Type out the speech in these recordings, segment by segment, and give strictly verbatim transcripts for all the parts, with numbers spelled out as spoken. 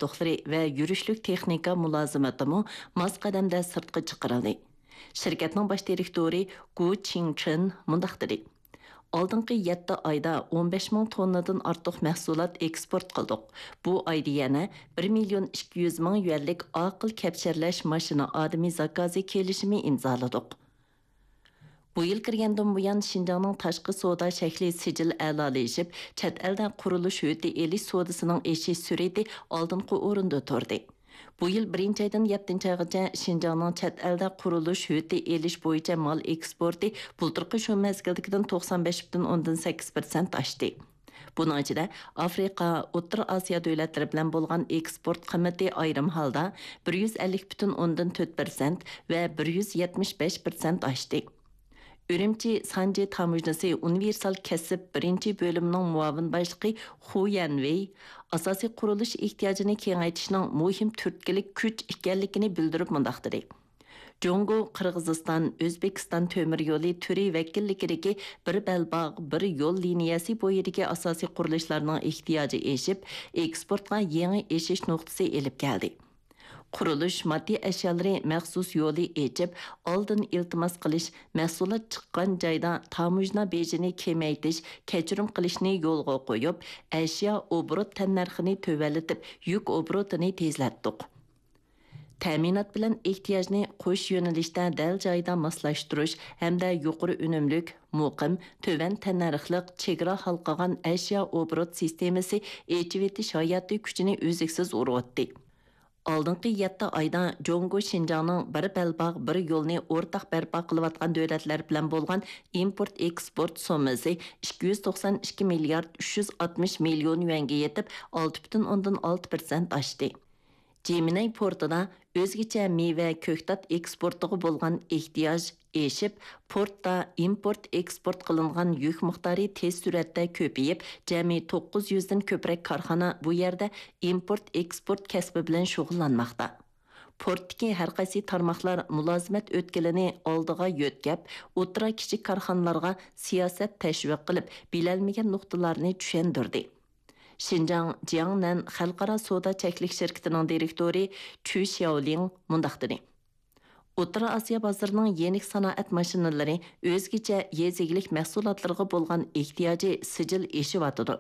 ئۇتۇقلىرى ۋە يۈرۈشلۈك تېخنىكا مۇلازىمىتىمۇ ماس قەدەمدە سىرتقا چىقىرىلدى. شىركەتنىڭ باش دىرېكتورى گۇ چىڭچېن مۇنداق دېدى: «ئالدىنقى يەتتە ئايدا ئون بەش مىڭ توننىدىن ئارتۇق مەھسۇلات ئېكسپورت قىلدۇق. بۇ ئايدا يەنە بىر مىليون ئىككى يۈز مىڭ يۈەنلىك ئاقىل كەپشەرلەش ماشىنا ئادىمى زاكازى كېلىشىمى ئىمزالىدۇق.» بۇ يىل كىرگەندىن بۇيان، شىنجاڭنىڭ تاشقى سودا شەكلى سىجىل ئەلالىشىپ، چەت ئەلدە قۇرۇلۇش ھۆددە ئېلىش سودىسىنىڭ ئېشىش سۈرئىتى ئالدىنقى ئورۇندا تۇردى. بۇ يىل بىرىنچى ئايدىن يەتتىنچى ئايغىچە شىنجاڭنىڭ چەت ئەلدە قۇرۇلۇش ھۆددە ئېلىش بويىچە مال ئېكسپورتى بۇلتۇرقى شۇ مەزگىلدىكىدىن توقسان بەش پۈتۈن ئوندىن سەككىز پىرسەنت ئاشتى. بۇنىڭ ئىچىدە ئافرىقا، ئوتتۇرا ئاسىيا دۆلەتلىرى بىلەن بولغان ئېكسپورت قىممىتى ئايرىم ھالدا بىر يۈز ئەللىك پۈتۈن ئوندىن تۆت پىرسەنت ۋە بىر يۈز يەتمىش بەش پىرسەنت ئاشتى. ئۈرۈمچى سانجى تاموژنىسى ئۇنىۋېرسال كەسىپ بىرىنچى بۆلۈمىنىڭ مۇئاۋىن باشلىقى خۇ يەنۋېي ئاساسىي قۇرۇلۇش ئېھتىياجىنى كېڭەيتىشنىڭ مۇھىم تۈرتكىلىك كۈچ ئىكەنلىكىنى بىلدۈرۈپ مۇنداق دېدى: «جۇڭگو، قىرغىزىستان، ئۆزبېكىستان تۆمۈر يولى تۈرى ۋەكىللىكىدىكى بىر بەلباغ، بىر يول لىنىيەسى بويىدىكى ئاساسىي قۇرۇلۇشلارنىڭ ئېھتىياجى ئېشىپ، ئېكسپورتقا يېڭى ئېشىش نۇقتىسى ئېلىپ كەلدى. قۇرۇلۇش ماددىي ئەشيالىرى مەخسۇس يولى ئېچىپ، ئالدىن ئىلتىماس قىلىش، مەھسۇلات چىققان جايدا تاموژنا بېجىنى كېمەيتىش، كەچۈرۈم قىلىشنى يولغا قويۇپ، ئەشيا ئوبوروت تەننەرخىنى تۆۋەنلىتىپ، يۈك ئوبوروتىنى تېزلەتتۇق.» تەمىنات بىلەن ئېھتىياجنى قوش يۆنىلىشتە دەل جايىدا ماسلاشتۇرۇش ھەمدە يۇقىرى ئۈنۈملۈك، مۇقىم، تۆۋەن تەننەرخلىق چېگرا ھالقىغان ئەشيا ئوبوروت سىستېمىسى ئېچىۋېتىش ھاياتىي كۈچىنى ئۈزلۈكسىز ئۇرغۇتتى. ئالدىنقى يەتتە ئايدا جۇڭگو شىنجاڭنىڭ بىر بەلباغ، بىر يولنى ئورتاق بەرپا قىلىۋاتقان دۆلەتلەر بىلەن بولغان ئىمپورت ئېكسپورت سوممىسى ئىككى يۈز توقسان ئىككى مىليارد ئۈچ يۈز ئاتمىش مىليون يۈەنگە يېتىپ، ئالتە پۈتۈن ئوندىن ئالتە پىرسەنت ئاشتى. جىمىنەي پورتىدا ئۆزگىچە مېۋە، كۆكتات ئېكسپورتىغا بولغان ئېھتىياج ئېشىپ، پورتتا ئىمپورت ئېكسپورت قىلىنغان يۈك مىقدارى تېز سۈرئەتتە كۆپىيىپ، جەمئىي توققۇز يۈزدىن كۆپرەك كارخانا بۇ يەردە ئىمپورت ئېكسپورت كەسپى بىلەن شۇغۇللانماقتا. پورتتىكى ھەر قايسى تارماقلار مۇلازىمەت ئۆتكىلىنى ئالدىغا يۆتكەپ، ئوتتۇرا، كىچىك كارخانىلارغا سىياسەت تەشۋىق قىلىپ، بىلەلمىگەن نۇقتىلارنى چۈشەندۈردى. شىنجاڭ جياڭنەن خەلقئارا سودا چەكلىك شىركىتىنىڭ دىرېكتورى چۈ شياۋلىڭ مۇنداق دېدى: «ئوتتۇرا ئاسىيا بازىرىنىڭ يېنىك سانائەت ماشىنىلىرى ئۆزگىچە يېزا ئىگىلىك مەھسۇلاتلىرىغا بولغان ئېھتىياجى سىجىل ئېشىۋاتىدۇ.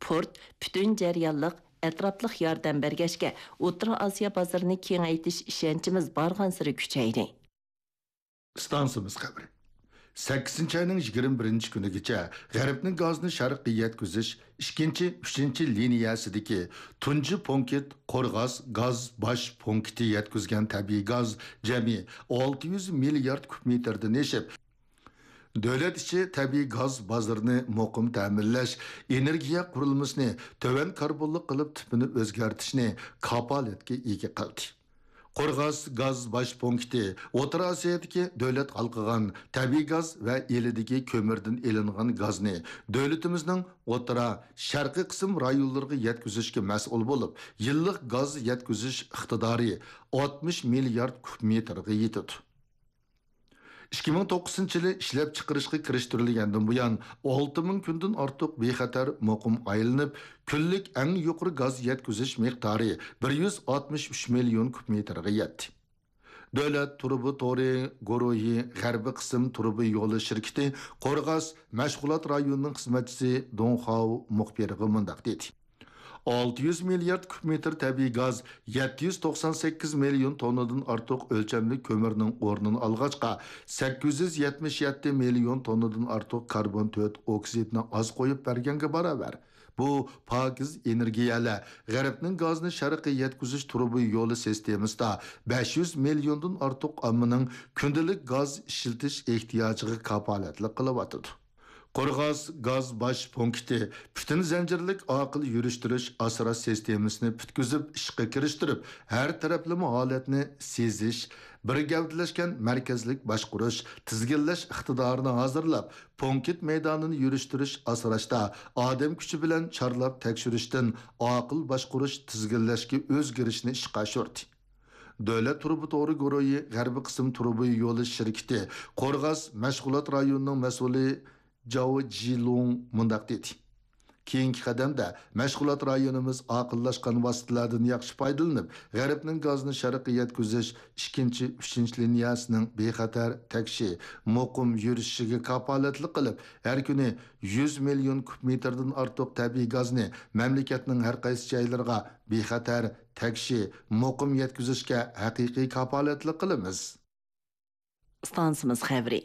پورت پۈتۈن جەريانلىق، ئەتراپلىق ياردەم بەرگەچكە، ئوتتۇرا ئاسىيا بازىرىنى كېڭەيتىش ئىشەنچىمىز بارغانسېرى كۈچەيدى.» ئىستانسىمىز خەۋىرى. سەككىزىنچى ئاينىڭ يىگىرمە بىرىنچى كۈنىگىچە غەربنىڭ گازنى شەرققە يەتكۈزۈش ئىككىنچى، ئۈچىنچى لىنىيەسىدىكى تۇنجى پونكىت قورغاس گاز باش پونكىتى يەتكۈزگەن تەبىئىي گاز جەمئىي ئالتە يۈز مىليارد كۇب مېتىردىن ئېشىپ، دۆلەت ئىچى تەبىئىي گاز بازىرىنى مۇقىم تەمىنلەش، ئېنېرگىيە قۇرۇلمىسىنى تۆۋەن كاربونلۇق قىلىپ تىپىنى ئۆزگەرتىشنى كاپالەتكە ئىگە قىلدى. قورغاس گاز باش پونكىتى ئوتتۇرا ئاسىيادىكى دۆلەت ھالقىغان تەبىئىي گاز ۋە ئىلىدىكى كۆمۈردىن ئېلىنغان گازنى دۆلىتىمىزنىڭ ئوتتۇرا، شەرقىي قىسىم رايونلىرىغا يەتكۈزۈشكە مەسئۇل بولۇپ، يىللىق گاز يەتكۈزۈش ئىقتىدارى ئاتمىش مىليارد كۇب مېتىرغا يېتىدۇ. ئىككى مىڭ توققۇزىنچى يىلى ئىشلەپچىقىرىشقا كىرىشتۈرۈلگەندىن بۇيان، ئالتە مىڭ كۈندىن ئارتۇق بىخەتەر مۇقىم ئايلىنىپ، كۈنلۈك ئەڭ يۇقىرى گاز يەتكۈزۈش مىقدارى بىر يۈز ئاتمىش ئۈچ مىليون كۇب مېتىرغا يەتتى. دۆلەت تۇرۇبا تورى گۇرۇھى غەربىي قىسىم تۇرۇبا يولى شىركىتى قورغاس مەشغۇلات رايونىنىڭ خىزمەتچىسى دۇڭ خاۋ مۇخبىرغا مۇنداق دېدى: ئالتە يۈز مىليارد كۇب مېتىر تەبىئىي گاز، يەتتە يۈز توقسان سەككىز مىليون توننىدىن ئارتۇق ئۆلچەملىك كۆمۈرنىڭ ئورنىنى ئالغاچقا، سەككىز يۈز يەتمىش يەتتە مىليون توننىدىن ئارتۇق كاربون تۆت ئوكسىدىنى ئاز قويۇپ بەرگەنگە باراۋەر. بۇ پاكىز ئېنېرگىيەلەر غەربنىڭ گازنى شەرققە يەتكۈزۈش تۇرۇبا يولى سىستېمىسىدا بەش يۈز مىليوندىن ئارتۇق ئاممىنىڭ كۈندىلىك گاز ئىشلىتىش ئېھتىياجىغا كاپالەتلىك قىلىۋاتىدۇ. قورغاس گاز باش پونكىتى پۈتۈن زەنجىرلىك ئاقىل يۈرۈشتۈرۈش ئاسراش سىستېمىسىنى پۈتكۈزۈپ ئىشقا كىرىشتۈرۈپ، ھەر تەرەپلىمە ھالەتنى سېزىش، بىر گەۋدىلەشكەن مەركەزلىك باشقۇرۇش، تىزگىنلەش ئىقتىدارىنى ھازىرلاپ، پونكىت مەيدانىنى يۈرۈشتۈرۈش ئاسراشتا ئادەم كۈچى بىلەن چارلاپ تەكشۈرۈشتىن ئاقىل باشقۇرۇش تىزگىنلەشكە ئۆزگىرىشنى ئىشقا ئاشۇردى. دۆلەت تۇرۇبا تورى گۇرۇھى غەربىي قىسىم تۇرۇبا يولى شىركىتى قورغاس مەشغۇلات رايونىنىڭ مەسئۇلى جاۋ جىلۇڭ مۇنداق دېدى: كېيىنكى قەدەمدە مەشغۇلات رايونىمىز ئاقىللاشقان ۋاسىتىلەردىن ياخشى پايدىلىنىپ، غەربنىڭ گازىنى شەرققە يەتكۈزۈش ئىككىنچى، ئۈچىنچى لىنىيەسىنىڭ بىخەتەر، تەكشى، مۇقىم يۈرۈشۈشىگە كاپالەتلىك قىلىپ، ھەر كۈنى يۈز مىليون كۇب مېتىردىن ئارتۇق تەبىئىي گازنى مەملىكەتنىڭ ھەر قايسى جايلىرىغا بىخەتەر، تەكشى، مۇقىم يەتكۈزۈشكە ھەقىقىي كاپالەتلىك قىلىمىز. ئىستانسىمىز خەۋىرى.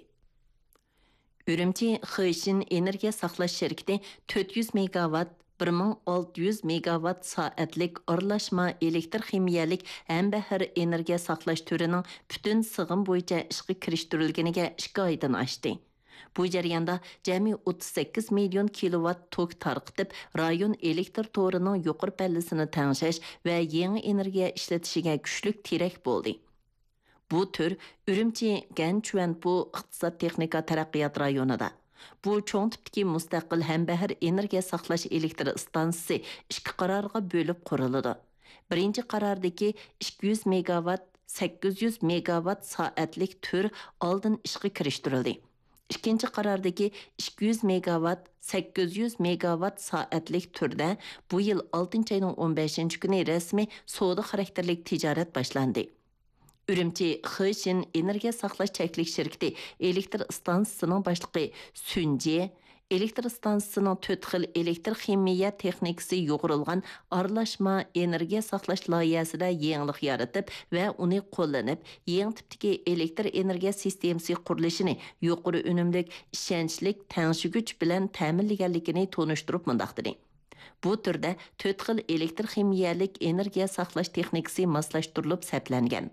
ئۈرۈمچى خېشىن ئېنېرگىيە ساقلاش شىركىتى تۆت يۈز مېگاۋات، بىر مىڭ ئالتە يۈز مېگاۋات سائەتلىك ئارىلاشما ئېلېكتر خىمىيەلىك ھەمبەھىر ئېنېرگىيە ساقلاش تۈرىنىڭ پۈتۈن سىغىم بويىچە ئىشقا كىرىشتۈرۈلگىنىگە ئىككى ئايدىن ئاشتى. بۇ جەرياندا جەمئىي ئوتتۇز سەككىز مىليون كىلوۋات توك تارقىتىپ، رايون ئېلېكتر تورىنىڭ يۇقىرى پەللىسىنى تەڭشەش ۋە يېڭى ئېنېرگىيە ئىشلىتىشىگە كۈچلۈك تىرەك بولدى. بۇ تۈر ئۈرۈمچى گەنچۈەنپۇ ئىقتىساد تېخنىكا تەرەققىيات رايونىدا، بۇ چوڭ تىپتىكى مۇستەقىل ھەمبەھىر ئېنېرگىيە ساقلاش ئېلېكتر ئىستانسىسى ئىككى قارارغا بۆلۈپ قۇرۇلىدۇ. بىرىنچى قاراردىكى ئىككى يۈز مېگاۋات، سەككىز يۈز مېگاۋات سائەتلىك تۈر ئالدىن ئىشقا كىرىشتۈرۈلدى. ئىككىنچى قاراردىكى ئىككى يۈز مېگاۋات، سەككىز يۈز مېگاۋات سائەتلىك تۈردە بۇ يىل ئالتىنچى ئاينىڭ ئون بەشىنچى كۈنى رەسمىي سودا خاراكتېرلىك تىجارەت باشلاندى. ئۈرۈمچى خېشىن ئېنېرگىيە ساقلاش چەكلىك شىركىتى ئېلېكتر ئىستانسىسىنىڭ باشلىقى سۈن جې ئېلېكتر ئىستانسىسىنىڭ تۆت خىل ئېلېكتر خىمىيە تېخنىكىسى يۇغۇرۇلغان ئارىلاشما ئېنېرگىيە ساقلاش لايىھەسىدە يېڭىلىق يارىتىپ ۋە ئۇنى قوللىنىپ، يېڭى تىپتىكى ئېلېكتر ئېنېرگىيە سىستېمىسى قۇرۇلۇشىنى يۇقىرى ئۈنۈملۈك، ئىشەنچلىك، تەڭشىگۈچ بىلەن تەمىنلىگەنلىكىنى تونۇشتۇرۇپ مۇنداق دېدى. بۇ تۈردە تۆت خىل ئېلېكتر خىمىيەلىك ئېنېرگىيە ساقلاش تېخنىكىسى ماسلاشتۇرۇلۇپ سەپلەنگەن.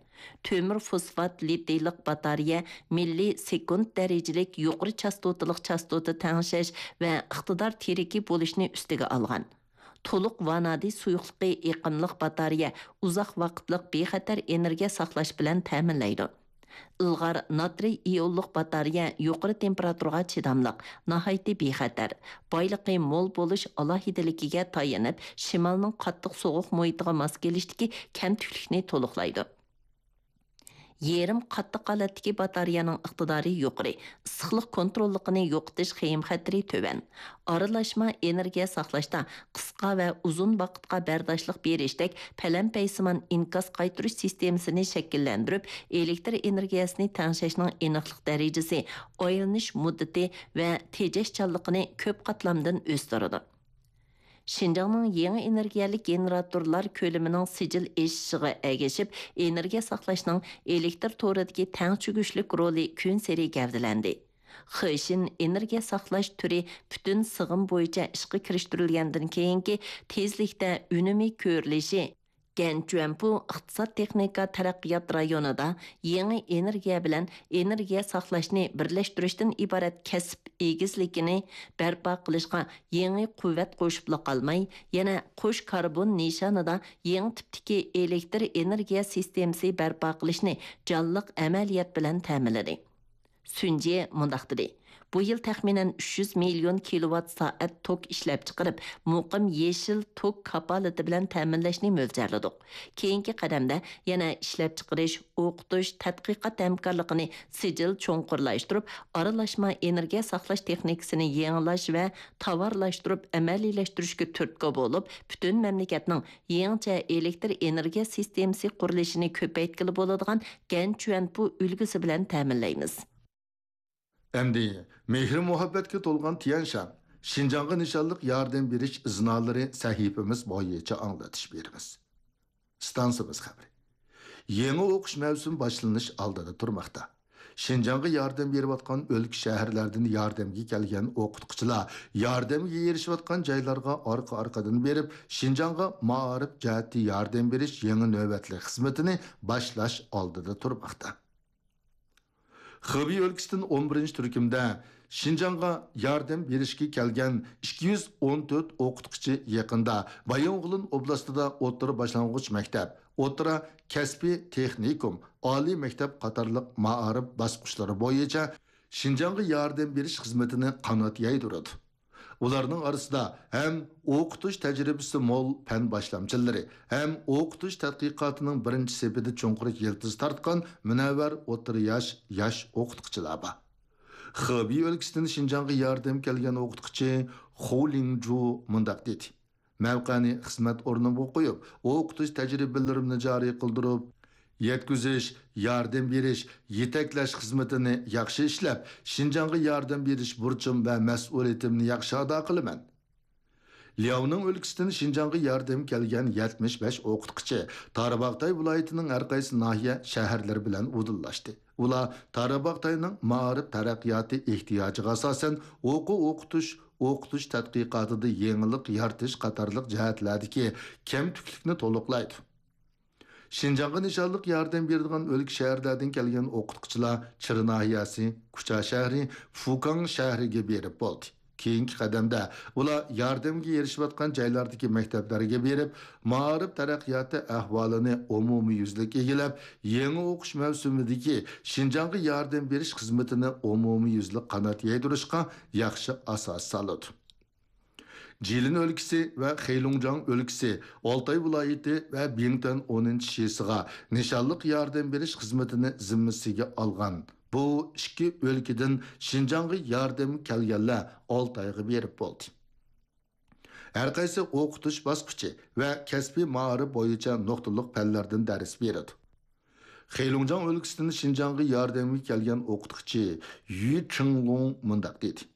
تۆمۈر فوسفات لىتىيلىق باتارېيە مىللىي سېكۇنت دەرىجىلىك يۇقىرى چاستوتىلىق چاستوتا تەڭشەش ۋە ئىقتىدار تىرىكى بولۇشنى ئۈستىگە ئالغان. تولۇق ۋانادى سۇيۇقلۇقى ئېقىملىق باتارېيە ئۇزاق ۋاقىتلىق بىخەتەر ئېنېرگىيە ساقلاش بىلەن تەمىنلەيدۇ. ئىلغار ناترىي ئىئونلۇق باتارېيە يۇقىرى تېمپېراتۇرىغا چىداملىق، ناھايىتى بىخەتەر، بايلىقى مول بولۇش ئالاھىدىلىكىگە تايىنىپ، شىمالنىڭ قاتتىق سوغۇق مۇھىتىغا ماس كېلىشتىكى كەمتۈكلۈكنى تولۇقلايدۇ. يېرىم قاتتىق ھالەتتىكى باتارېيەنىڭ ئىقتىدارى يۇقىرى، ئىسسىقلىق كونتروللۇقىنى يوقىتىش خېيىم خەتىرى تۆۋەن. ئارىلاشما ئېنېرگىيە ساقلاشتا قىسقا ۋە ئۇزۇن ۋاقىتقا بەرداشلىق بېرىشتەك پەلەمپەيسىمان ئىنكاس قايتۇرۇش سىستېمىسىنى شەكىللەندۈرۈپ، ئېلېكتر ئېنېرگىيەسىنى تەڭشەشنىڭ ئېنىقلىق دەرىجىسى، ئايلىنىش مۇددىتى ۋە تېجەشچانلىقىنى كۆپ قاتلامدىن ئۆستۈرىدۇ. شىنجاڭنىڭ يېڭى ئېنېرگىيەلىك گېنېراتورلار كۆلىمىنىڭ سىجىل ئېشىشىغا ئەگىشىپ، ئېنېرگىيە ساقلاشنىڭ ئېلېكتر تورىدىكى تەڭ چۆكۈشلۈك رولى كۈنسېرى گەۋدىلەندى. خېشىن ئېنېرگىيە ساقلاش تۈرى پۈتۈن سىغىم بويىچە ئىشقا كىرىشتۈرۈلگەندىن كېيىنكى تېزلىكتە ئۈنۈمى كۆرۈلۈشى، گەنچۈەنپۇ ئىقتىساد تېخنىكا تەرەققىيات رايونىدا يېڭى ئېنېرگىيە بىلەن ئېنېرگىيە ساقلاشنى بىرلەشتۈرۈشتىن ئىبارەت كەسىپ ئېگىزلىكىنى بەرپا قىلىشقا يېڭى قۇۋۋەت قوشۇپلا قالماي، يەنە قوش كاربون نىشانىدا يېڭى تىپتىكى ئېلېكتر ئېنېرگىيە سىستېمىسى بەرپا قىلىشنى جانلىق ئەمەلىيەت بىلەن تەمىنلىدى. سۈنجې مۇنداق دېدى، بۇ يىل تەخمىنەن ئۈچ يۈز مىليون كىلوۋات سائەت توك ئىشلەپچىقىرىپ، مۇقىم يېشىل توك كاپالىتى بىلەن تەمىنلەشنى مۆلچەرلىدۇق. كېيىنكى قەدەمدە يەنە ئىشلەپچىقىرىش، ئوقۇتۇش، تەتقىقات ھەمكارلىقىنى سىجىل چوڭقۇرلاشتۇرۇپ، ئارىلاشما ئېنېرگىيە ساقلاش تېخنىكىسىنى يېڭىلاش ۋە تاۋارلاشتۇرۇپ ئەمەلىيلەشتۈرۈشكە تۈرتكە بولۇپ، پۈتۈن مەملىكەتنىڭ يېڭىچە ئېلېكتر ئېنېرگىيە سىستېمىسى قۇرۇلۇشىنى كۆپەيتكىلى بولىدىغان گەنچۈەنپۇ ئۈلگىسى بىلەن تەمىنلەيمىز. ئەمدى مېھرى-مۇھەببەتكە تولغان تيەنشان، شىنجاڭغا نىشانلىق ياردەم بېرىش ئىزنالىرى سەھىپىمىز بويىچە ئاڭلىتىش بېرىمىز. ئىستانسىمىز خەۋىرى. يېڭى ئوقۇش مەۋسۇمى باشلىنىش ئالدىدا تۇرماقتا. شىنجاڭغا ياردەم بېرىۋاتقان ئۆلكە، شەھەرلەردىن ياردەمگە كەلگەن ئوقۇتقۇچىلار ياردەمگە ئېرىشىۋاتقان جايلارغا ئارقا-ئارقىدىن بېرىپ، شىنجاڭغا مائارىپ جەھەتتە ياردەم بېرىش يېڭى نۆۋەتلىك خىزمىتىنى باشلاش ئالدىدا تۇرماقتا. خېبېي ئۆلكىسىدىن ئون بىرىنچى تۈركۈمدە شىنجاڭغا ياردەم بېرىشكە كەلگەن ئىككى يۈز ئون تۆت ئوقۇتقۇچى يېقىندا بايىنغولىن ئوبلاستىدا ئوتتۇرا باشلانغۇچ مەكتەپ، ئوتتۇرا كەسپىي تېخنىكوم، ئالىي مەكتەپ قاتارلىق مائارىپ باسقۇچلىرى بويىچە شىنجاڭغا ياردەم بېرىش خىزمىتىنى قانات يايدۇرىدۇ. ئۇلارنىڭ ئارىسىدا ھەم ئوقۇتۇش تەجرىبىسى مول پەن باشلامچىلىرى، ھەم ئوقۇتۇش تەتقىقاتىنىڭ بىرىنچى سېپىدە چوڭقۇر يىلتىز تارتقان مۇنەۋۋەر ئوتتۇرا ياش، ياش ئوقۇتقۇچىلار بار. خېبېي ئۆلكىسىدىن شىنجاڭغا ياردەم كەلگەن ئوقۇتقۇچى خۇ لىڭجۇ مۇنداق دېدى: مەۋقەنى خىزمەت ئورنۇمغا قويۇپ، ئوقۇتۇش تەجرىبىلىرىمنى جارى قىلدۇرۇپ، يەتكۈزۈش، ياردەم بېرىش، يېتەكلەش خىزمىتىنى ياخشى ئىشلەپ، شىنجاڭغا ياردەم بېرىش بۇرچۇم ۋە مەسئۇلىيىتىمنى ياخشى ئادا قىلىمەن. لياۋنىڭ ئۆلكىسىدىن شىنجاڭغا ياردەم كەلگەن يەتمىش بەش ئوقۇتقۇچى تارباغاتاي ۋىلايىتىنىڭ ھەر قايسى ناھىيە، شەھەرلىرى بىلەن ئۇدۇللاشتى. ئۇلار تارباغاتاينىڭ مائارىپ تەرەققىياتى ئېھتىياجىغا ئاساسەن، ئوقۇ ئوقۇتۇش، ئوقۇتۇش تەتقىقاتىدا يېڭىلىق يارىتىش قاتارلىق جەھەتلەردىكى كەمتۈكلۈكنى تولۇقلايدۇ. شىنجاڭغا نىشانلىق ياردەم بېرىدىغان ئۆلكە، شەھەرلەردىن كەلگەن ئوقۇتقۇچىلار چىرى ناھىيەسى، كۇچا شەھىرى، فۇكاڭ شەھىرىگە بېرىپ بولدى. كېيىنكى قەدەمدە ئۇلار ياردەمگە ئېرىشىۋاتقان جايلاردىكى مەكتەپلەرگە بېرىپ، مائارىپ تەرەققىياتى ئەھۋالىنى ئومۇميۈزلۈك ئىگىلەپ، يېڭى ئوقۇش مەۋسۇمىدىكى شىنجاڭغا ياردەم بېرىش خىزمىتىنى ئومۇميۈزلۈك قانات يايدۇرۇشقا ياخشى ئاساس سالىدۇ. جىلىن ئۆلكىسى ۋە خېيلۇڭجاڭ ئۆلكىسى، ئالتاي ۋىلايىتى ۋە بىڭتۈەن ئونىنچى شىسىغا نىشانلىق ياردەم بېرىش خىزمىتىنى زىممىسىگە ئالغان بۇ ئىككى ئۆلكىدىن شىنجاڭغا ياردەم كەلگەنلەر ئالتايغا بېرىپ بولدى. ھەر قايسى ئوقۇتۇش باسقۇچى ۋە كەسپىي مائارىپ بويىچە نۇقتىلىق پەنلەردىن دەرس بېرىدۇ. خېيلۇڭجاڭ ئۆلكىسىدىن شىنجاڭغا ياردەمگە كەلگەن ئوقۇتقۇچى يۈ چىڭلۇڭ مۇنداق دېدى: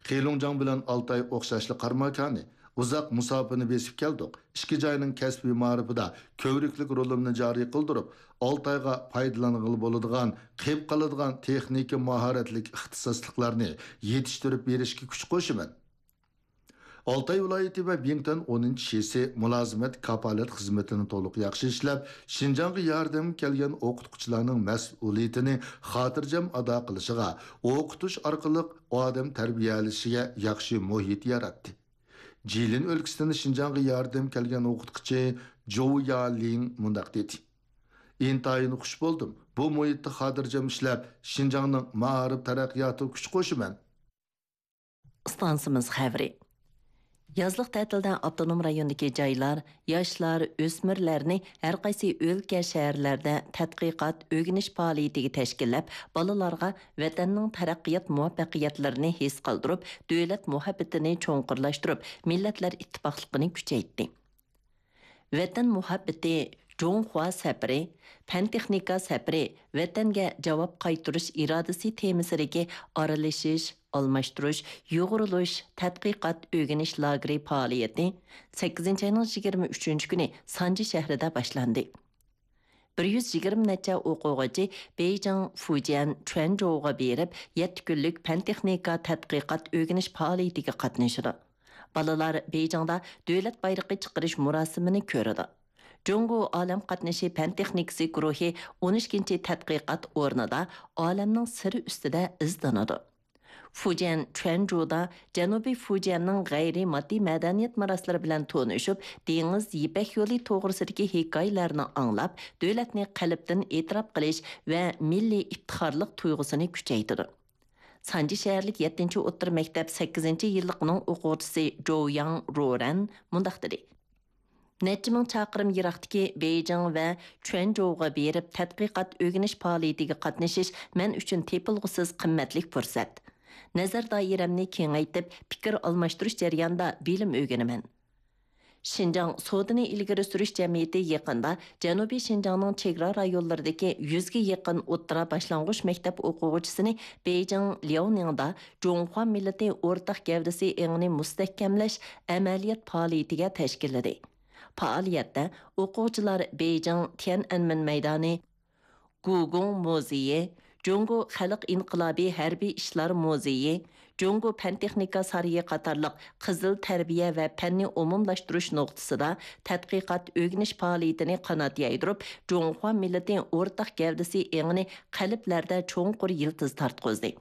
خېيلۇڭجاڭ بىلەن ئالتاي ئوخشاشلا قارىماكانى، ئۇزاق مۇساپىنى بېسىپ كەلدۇق. ئىككى جاينىڭ كەسپىي مائارىپىدا كۆۋرۈكلۈك رولۇمنى جارى قىلدۇرۇپ، ئالتايغا پايدىلانغىلى بولىدىغان، قېلىپ قالىدىغان تېخنىكا ماھارەتلىك ئىختىساسلىقلارنى يېتىشتۈرۈپ بېرىشكە كۈچ قوشىمەن. ئالتاي ۋىلايىتى ۋە بىڭتۈەن ئونىنچى شىسى مۇلازىمەت كاپالەت خىزمىتىنى تولۇق ياخشى ئىشلەپ، شىنجاڭغا ياردەمگە كەلگەن ئوقۇتقۇچىلارنىڭ مەسئۇلىيىتىنى خاتىرجەم ئادا قىلىشىغا، ئوقۇتۇش ئارقىلىق ئادەم تەربىيەلىشىگە ياخشى مۇھىت ياراتتى. جىلىن ئۆلكىسىدىن شىنجاڭغا ياردەم كەلگەن ئوقۇتقۇچى جوۋ يالىڭ مۇنداق دېدى: ئىنتايىن خۇش بولدۇم. بۇ مۇھىتتا خاتىرجەم ئىشلەپ، شىنجاڭنىڭ مائارىپ تەرەققىياتىغا كۈچ قوشىمەن. ئىستانسىمىز خەۋىرى. يازلىق تەتىلدە ئاپتونوم رايوندىكى جايلار ياشلار، ئۆسمۈرلەرنى ھەر قايسى ئۆلكە، شەھەرلەردە تەتقىقات، ئۆگىنىش پائالىيىتىگە تەشكىللەپ، بالىلارغا ۋەتەننىڭ تەرەققىيات مۇۋەپپەقىيەتلىرىنى ھېس قىلدۇرۇپ، دۆلەت مۇھەببىتىنى چوڭقۇرلاشتۇرۇپ، مىللەتلەر ئىتتىپاقلىقىنى كۈچەيتتى. ۋەتەن مۇھەببىتى، جۇڭخۇا سەپىرى، پەن-تېخنىكا سەپىرى، ۋەتەنگە جاۋاب قايتۇرۇش ئىرادىسى تېمىسىدىكى ئارىلىشىش، ئالماشتۇرۇش، يۇغۇرۇلۇش، تەتقىقات، ئۆگىنىش لاگېرى پائالىيىتى سەككىزىنچى ئاينىڭ يىگىرمە ئۈچىنچى كۈنى سانجى شەھىرىدە باشلاندى. بىر يۈز يىگىرمە نەچچە ئوقۇغۇچى بېيجىڭ، فۇجيەن، چۈەنجۇغا بېرىپ، يەتتە كۈنلۈك پەن-تېخنىكا تەتقىقات ئۆگىنىش پائالىيىتىگە قاتنىشىدۇ. بالىلار بېيجىڭدا دۆلەت بايرىقى چىقىرىش مۇراسىمىنى كۆرىدۇ. جۇڭگو ئالەم قاتنىشى پەن-تېخنىكىسى گۇرۇھى ئون ئىككىنچى تەتقىقات ئورنىدا ئالەمنىڭ سىرى ئۈستىدە ئىزدىنىدۇ. فۇجيەن چۈەنجۇدا جەنۇبىي فۇجيەننىڭ غەيرىي ماددىي مەدەنىيەت مىراسلىرى بىلەن تونۇشۇپ، دېڭىز يىپەك يولى توغرىسىدىكى ھېكايىلەرنى ئاڭلاپ، دۆلەتنى قەلبتىن ئېتىراپ قىلىش ۋە مىللىي ئىپتىخارلىق تۇيغۇسىنى كۈچەيتىدۇ. سانجى شەھەرلىك يەتتىنچى ئوتتۇرا مەكتەپ سەككىزىنچى يىللىقىنىڭ ئوقۇغۇچىسى جوۋياڭ رورەن مۇنداق دېدى: نەچچە مىڭ چاقىرىم يىراقتىكى بېيجىڭ ۋە چۈەنجۇغا بېرىپ تەتقىقات ئۆگىنىش پائالىيىتىگە قاتنىشىش مەن ئۈچۈن تېپىلغۇسىز قىممەتلىك پۇرسەت. نەزەر دائىرەمنى كېڭەيتىپ، پىكىر ئالماشتۇرۇش جەريانىدا بىلىم ئۆگىنىمەن. شىنجاڭ سودىنى ئىلگىرى سۈرۈش جەمئىيىتى يېقىندا جەنۇبىي شىنجاڭنىڭ چېگرا رايونلىرىدىكى يۈزگە يېقىن ئوتتۇرا، باشلانغۇچ مەكتەپ ئوقۇغۇچىسىنى بېيجىڭ لياۋنىڭدا جۇڭخۇا مىللىتى ئورتاق گەۋدىسى ئېڭىنى مۇستەھكەملەش ئەمەلىيەت پائالىيىتىگە تەشكىللىدى. پائالىيەتتە ئوقۇغۇچىلار بېيجىڭ تيەنئەنمېن مەيدانى، گۇگۇڭ مۇزېيى، جۇڭگو خەلق ئىنقىلابى ھەربىي ئىشلار مۇزېيى، جۇڭگو پەن-تېخنىكا سارىيى قاتارلىق قىزىل تەربىيە ۋە پەننى ئومۇملاشتۇرۇش نۇقتىسىدا تەتقىقات ئۆگىنىش پائالىيىتىنى قانات يايدۇرۇپ، جۇڭخۇا مىللىتى ئورتاق گەۋدىسى ئېڭىنى قەلبلەردە چوڭقۇر يىلتىز تارتقۇزدى.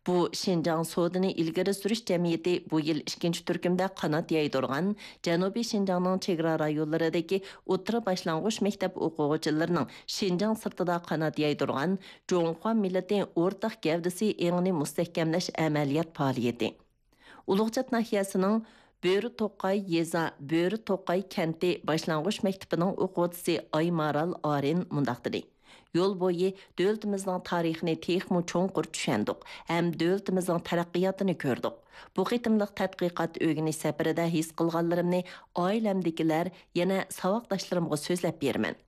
بۇ شىنجاڭ سودىنى ئىلگىرى سۈرۈش جەمئىيىتى بۇ يىل ئىككىنچى تۈركۈمدە قانات يايدۇرغان جەنۇبىي شىنجاڭنىڭ چېگرا رايونلىرىدىكى ئوتتۇرا، باشلانغۇچ مەكتەپ ئوقۇغۇچىلىرىنىڭ شىنجاڭ سىرتىدا قانات يايدۇرغان جۇڭخۇا مىللىتى ئورتاق گەۋدىسى ئېڭىنى مۇستەھكەملەش ئەمەلىيەت پائالىيىتى. ئۇلۇغچات ناھىيەسىنىڭ بۆرە توقاي يېزا، بۆرە توقاي كەنتى باشلانغۇچ مەكتىپىنىڭ ئوقۇغۇچىسى ئايمارال ئارىن مۇنداق دېدى: يول بويى دۆلىتىمىزنىڭ تارىخىنى تېخىمۇ چوڭقۇر چۈشەندۇق ھەم دۆلىتىمىزنىڭ تەرەققىياتىنى كۆردۇق. بۇ قېتىملىق تەتقىقات ئۆگىنىش سەپىرىدە ھېس قىلغانلىرىمنى ئائىلەمدىكىلەر، يەنە ساۋاقداشلىرىمغا سۆزلەپ بېرىمەن.